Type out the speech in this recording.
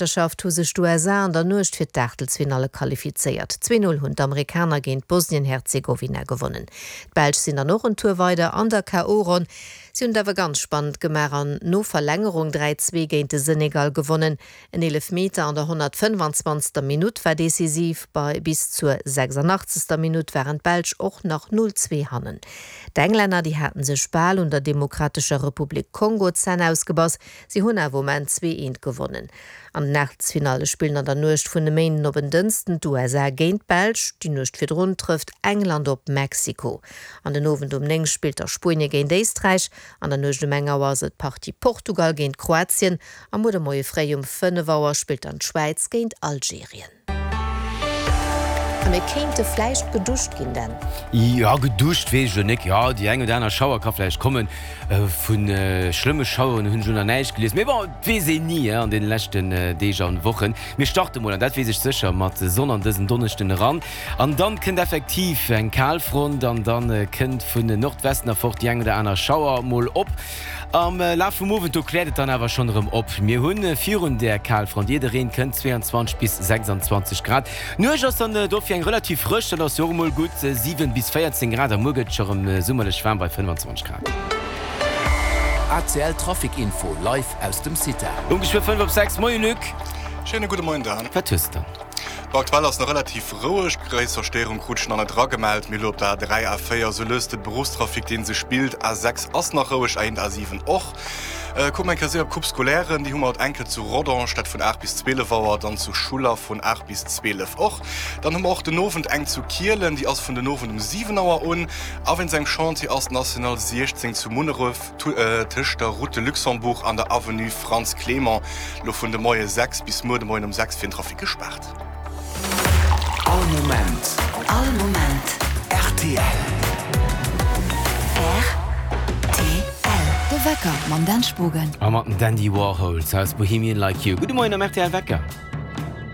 Weltmeeschterschaft hu sech d'USA an der Nuecht fir d'Aachtelsfinalle qualifizéiert. 2, 0 hunn d'Amerikaner géint Bosnien-Herzegowina gewonnen. D'Belsch sinn dann och en Tour weider an der KO-Ronn. Si hunn et awer ganz spannend gemaach an no Verlängerung 3, 2 géint de Senegal gewonnen. En Eelefmeter an der 125. Minutt war decisiv, bei bis zur 86. Minutt waren d'Belsch och nach 0, 2 hannen. D'Englänner, déi haten sech bal un der Demokratescher Republik Kongo d'Zänn ausgebass, si hunn awer um Enn 2, 1 gewonnen. An den Aachtelsfinalle spillen an der Nuecht vun e Méinden op en Dënsten d'USA géint d'Belsch, déi Nuecht virdrun trëfft England op Mexiko. An den Owend um 9 spillt da Spuenie géint Éisträich, an der Nuecht um eng Auer ass et d'Partie Portugal géint Kroatien a muer de Moie fréi um 5 Auer spillt dann d'Schwäiz géint Algerien. A mir kéinte vläicht geduscht ginn, Dan. Jo, geduscht weess ech elo nik. Jo, déi eng oder aner Schauer ka vläicht kommen. Vu schlëmme Schaueren hunn ech elo nach näischt gelies. Mee bon, et weess een ni an deene leschten Deeg an Wochen. Mir starte mol, an dat weess ech sécher, mat Sonn an dësen Donneschden eran. An dann kënnt effektiv eng Kalfront an dann kënnt vun Nordwesten erfort déi eng oder aner Schauer mol op. Am Laf vum Owend do kläert et dann awer schonn erëm op. Mir hunn virun där Kalfront, ier de Reen kënnt, 22 bis 26 Grad. D'Nuecht ass dann dofir eng relativ frësch, dat ass jo och emol gutt, 7 bis 14 Grad a muer gëtt et scho rëm summerlech waarm bei 25 Grad. ACL Trafic Info live aus dem CITA. Um geschwë 5 op 6. Moie Luc. Schéine gudde Moien Dan. Wat hues de dann? Bon, aktuell ass nach relativ roueg. Gréisser Stéierung krut ech nach net eragemellt. Mee elo op der A3, A4 sou lues de Beruffstrafic deen sech billt. A6 ass nach roueg, A1, A7 och. Kucke mer eng Kéier séier op d'Coupe scolaire. Déi hu mer haut eng Kéier zu Rodange, dat vun 8 bis 12 Auer, dann zu Schuller vun 8 bis 12 och. Dann hu mer och den Owend eng zu Kielen, déi ass vun den Owend um 7 Auer un. A wéinst engem Chantier ass d'National 16 zu Munneref tëscht der Route de Luxembourg an der Avenue Frantz Clément lo vun de Moie 6 bis muer de Moien um 6 fir den Trafic gespaart. All Moment. All Moment. Rtl. Rtl. De Wecker mam Dan Spogen. A mat den Dandy Warhols aus Bohemian Like You. Gudde Moien am rtl Wecker.